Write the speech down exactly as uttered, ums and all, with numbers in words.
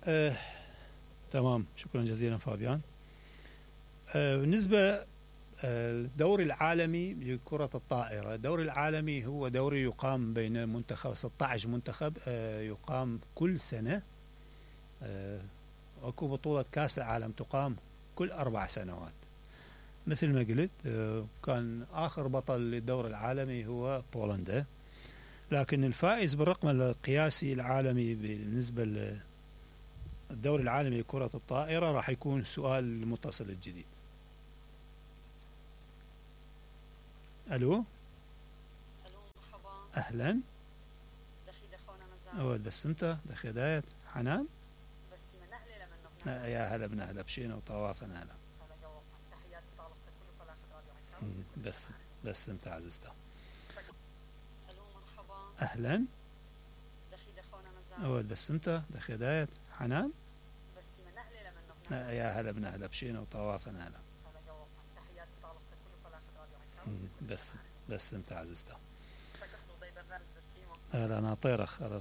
آه، تمام، شكرا جزيلا فابيان. آه، بالنسبة الدوري العالمي لكرة الطائرة، الدوري العالمي هو دوري يقام بين منتخب ستة عشر منتخب، آه، يقام كل سنة. آه، اكو بطولة كأس العالم تقام كل أربع سنوات. مثل ما قلت، آه، كان آخر بطل للدوري العالمي هو بولندا، لكن الفائز بالرقم القياسي العالمي بالنسبة للدوري العالمي لكرة الطائرة راح يكون سؤال المتصل الجديد. ألو. الو مرحبا. أهلا. دخي دخونا مزاج. أول بس أنت دخي دايت حنان. بس من أهلي لمن آه، يا هلا بنا، هلا بشينا وطوافنا هلا. هلا جوابك. تحياتي طالبتك كل فلاح راديو عنكم. بس بس أنت عزيزته. الو مرحبا. أهلا. دخي دخونا مزاج. أول بس أنت دخي دايت حنان. بس من أهلي لمن آه، يا هلا بنا، هلا بشينا وطوافنا هلا. هلا جوابك. تحياتي طالبتك كل فلاح راديو عنكم. بس بس أنت عزيزته. شكرا ضي برنامج بسيمة. أهلا ناطيرخ. أهلا